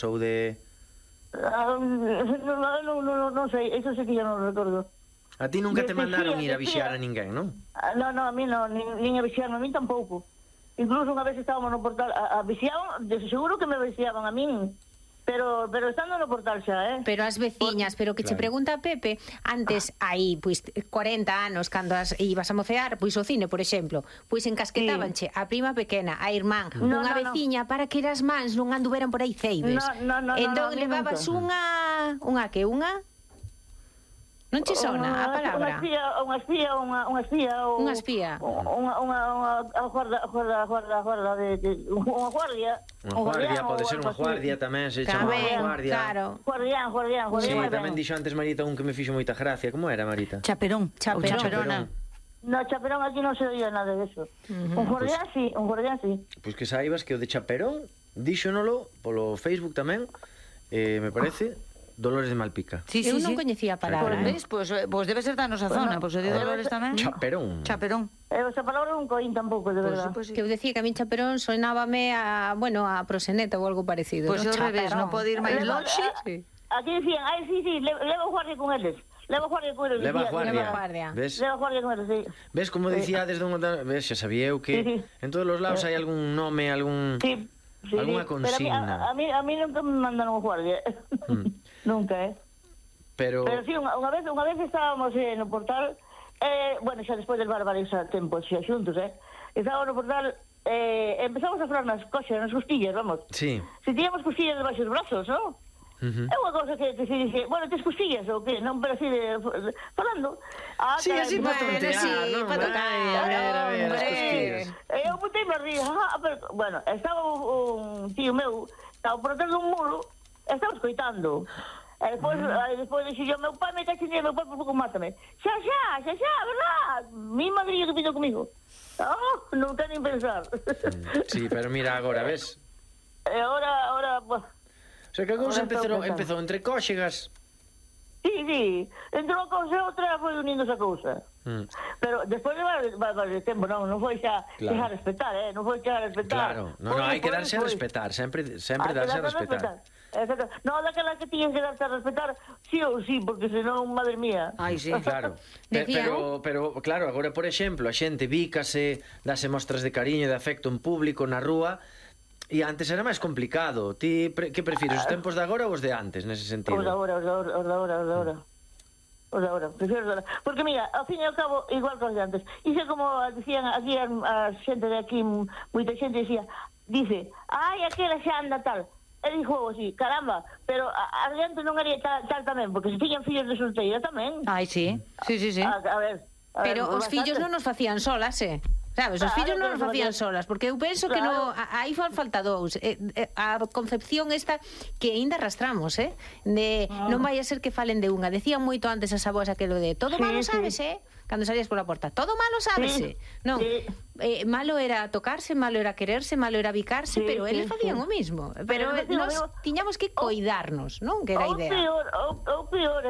ou de... Non sei, eso sí que yo non recordo. A ti nunca te mandaron ir a vixiar a ninguén, non? Non, a mí non, nin a vixiarme, a mí tampouco. Incluso unha vez estábamos no portal a vixiaban, seguro que me vixiaban a min. Pero estando no portal xa, Pero as veciñas, pero que che pregunta Pepe, antes aí, pois 40 anos cando ibas a mocear, pois o cine, por exemplo, pois encasquetábanche a prima pequena, a irmán, unha veciña para que as mans non anduveran por aí ceibes. Entón levabas unha que unha non che sona a palabra? Unha espía unha guardia pode ser unha guardia tamén, se chama guardia. Guardián. Sí, tamén dixo antes Marita un que me fixo moita gracia. Como era, Marita? Chaperona. No, chaperón aquí non se oía nada de eso. Un guardián sí. Pois que saibas que o de chaperón díxonolo polo Facebook tamén, me parece, Dolores de Malpica. Eu non coñecía a palabra. Pois debe ser da nosa zona, pois o de Dolores tamén. Chaperón. Esa palabra non coín tampouco, de verdad. Que eu decía que a min chaperón sonábame a proseneta ou algo parecido. Pois ao revés, non pode ir máis longe. Aquí decían, sí, leva guardia con eles. Leva guardia. Ves? Leva guardia con eles, sí. Ves como dicía desde unha... Ves, xa sabía eu que en todos os lados hai algún nome, alguna consigna. A mí nunca me mandaron guardia. Nunca, Pero sí, unha vez estábamos no portal, bueno, xa despois del barbares a tempo, xa xuntos, estábamos no portal, empezamos a falar nas coxas, nas costillas, vamos. Sí. Si tiñamos costillas debaixo dos brazos, non? É unha cousa que se dice, bueno, tes costillas ou que, non, pero así falando. Sí, así para tontear, non? para tocar, a ver, as costillas. Eu botei-me a rir, bueno, estaba un tío meu, estaba por detrás dun muro, estaba escoitando. E despois dixo yo, meu pai me cachinea, meu pai por pouco mátame. Xa, verdad? Mi madrillo que pido comigo. Non ten nin pensar. Sí, pero mira agora, ves? E agora, o sea, que a cousa empezou entre cóxegas. Sí, entre unha cousa e outra foi unindo esa cousa. Pero despois de tempo, non foi xa a respetar, non foi xa a respetar. Claro, non, hai que darse a respetar, sempre darse a respetar. Exacto. Non, daquela que tiñes que darse a respetar sí ou sí, porque senón, madre mía. Ai, sí. Claro. Pero claro, agora, por exemplo, a xente bícase, dase mostras de cariño e de afecto en público, na rúa, e antes era máis complicado. Ti, que prefires, os tempos de agora ou os de antes, nese sentido? Os de agora. Prefiero os de agora. Porque mira, ao fin e ao cabo, igual que os de antes. Iso como dicían aquí a xente de aquí, moita xente dice, aquela xa anda tal. E dixo así, caramba, pero adiante non haría tal tamén, porque se tiñan fillos de solteira tamén. Ai, sí. A ver, pero os fillos non nos facían solas, sabes, os fillos non nos facían solas, porque eu penso que aí falta dous, a concepción esta que aínda arrastramos, de non vai a ser que falen de unha. Decían moito antes as avós aquelo de todo malo sabes, cando salías pola porta, todo malo sábese. Non, malo era tocarse, malo era quererse, malo era bicarse, pero eles facían o mismo. Pero nós tiñamos que coidarnos, non? Que era a idea. O peor,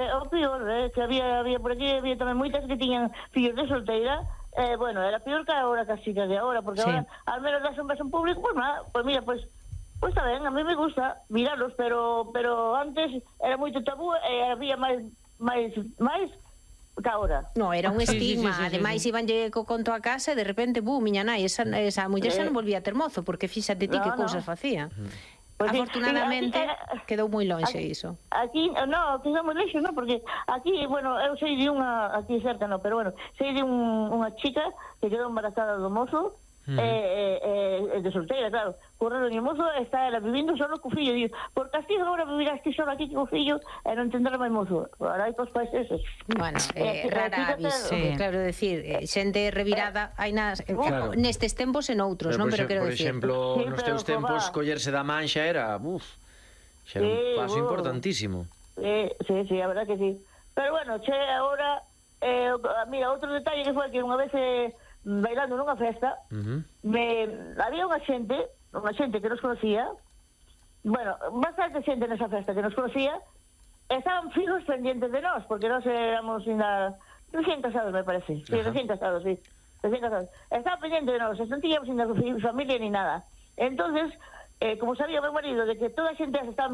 que había por aquí, había tamén moitas que tiñan fillos de solteira. Bueno, era peor que ahora, casi que de ahora, porque ahora, al menos das un beso en público, pues nada, pues mira, pues está ben, a mí me gusta mirarlos, pero antes era moito tabú e había máis que ahora. No, era un estigma, ademais ibanlle co conto a casa e de repente, miña nai, esa muller xa non volvía a ter mozo, porque fíxate ti que cousas facía. Pues afortunadamente quedou moi lonxe iso. Aquí, quedou moi lonxe, porque aquí, bueno, eu sei de unha, aquí cerca pero bueno, sei de unha chica que quedou embarazada do mozo, de solteira, claro, correndo o mozo, está ela vivindo solo co fillo, digo, por castigo agora vivirás ti solo aquí co fillo e non tendrá máis mozo. Agora hai cos pais esos. Bueno, rara avis, claro, decir, xente revirada hai nestes tempos e noutros, non? Pero quero decir, por exemplo, nos teus tempos collerse da man xa era un paso importantísimo. Sí, a verdad que sí. Pero bueno, agora, mira, outro detalle que foi que unha vez bailando nunha festa, había unha xente que nos conocía, bueno, bastante xente nesa festa que nos conocía, estaban fijos pendientes de nós, porque nós éramos recién casados, me parece. Sí, recién casados. Estaban pendientes de nós, non tiñamos ainda familia ni nada. Entonces, como sabía meu marido de que toda a xente estaba